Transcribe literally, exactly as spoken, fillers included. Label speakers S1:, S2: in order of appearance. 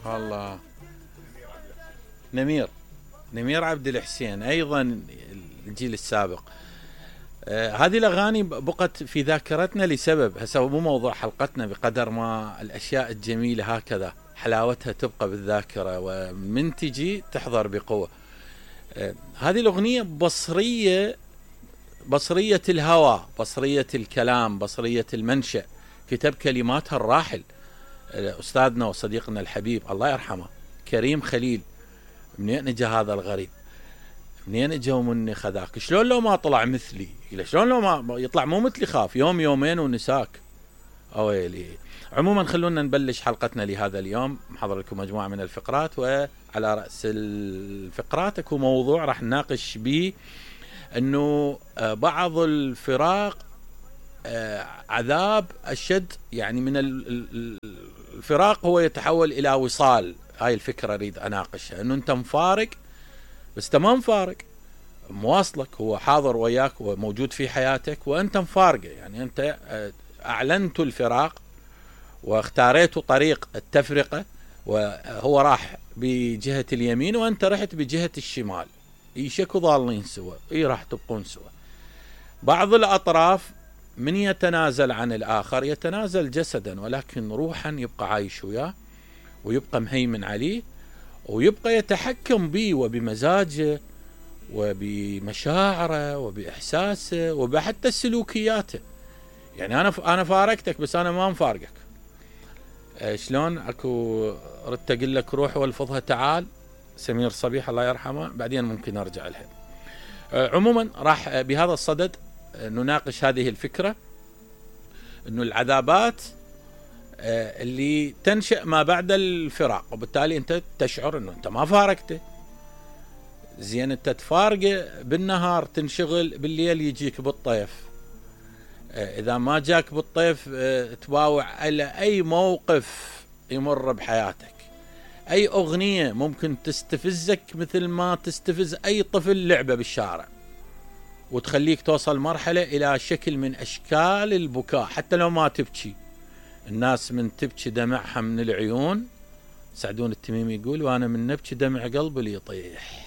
S1: الله. نمير نمير عبد الحسين ايضا الجيل السابق. آه هذه الاغاني بقت في ذاكرتنا لسبب، هسه مو موضوع حلقتنا بقدر ما الاشياء الجميله هكذا حلاوتها تبقى بالذاكره ومن تجي تحضر بقوه. آه هذه الاغنيه بصريه، بصريه الهوى، بصريه الكلام، بصريه المنشأ، كتب كلماتها الراحل استاذنا وصديقنا الحبيب الله يرحمه كريم خليل. منين اجى هذا الغريب؟ منين اجى ومني خذاك؟ شلون لو ما طلع مثلي؟ شلون لو ما يطلع مو مثلي خاف يوم يومين ونساك. اويلي. عموما خلونا نبلش حلقتنا لهذا اليوم، محضر لكم مجموعه من الفقرات، وعلى راس الفقرات اكو موضوع راح نناقش به انه بعض الفراق عذاب اشد، يعني من الفراق هو يتحول الى وصال. هاي الفكره اريد اناقشها، انه انت مفارق بس انت ما مفارق، مواصلك، هو حاضر وياك وموجود في حياتك وانت مفارقه، يعني انت اعلنت الفراق واختاريت طريق التفرقه، وهو راح بجهه اليمين وانت رحت بجهه الشمال، ايشكوا ضالين سوا، اي راح تبقون سوا. بعض الاطراف من يتنازل عن الآخر يتنازل جسدا، ولكن روحا يبقى عايش وياه ويبقى مهيمن عليه ويبقى يتحكم به وبمزاجه وبمشاعره وبإحساسه وبحتى سلوكياته. يعني أنا أنا فارقتك بس أنا ما مفارقك. شلون أكو ردت أقول لك روح والفظها تعال، سمير صبيح الله يرحمه، بعدين ممكن أرجع لها. عموما راح بهذا الصدد نناقش هذه الفكرة، انه العذابات اللي تنشأ ما بعد الفراق، وبالتالي انت تشعر انه انت ما فارقته. زين انت تفارقه بالنهار تنشغل، بالليل يجيك بالطيف، اذا ما جاك بالطيف تباوع على اي موقف يمر بحياتك، اي اغنية ممكن تستفزك مثل ما تستفز اي طفل لعبة بالشارع، وتخليك توصل مرحلة إلى شكل من أشكال البكاء حتى لو ما تبكي. الناس من تبكي دمعها من العيون، سعدون التميمي يقول وانا من نبكي دمع قلبي اللي يطيح.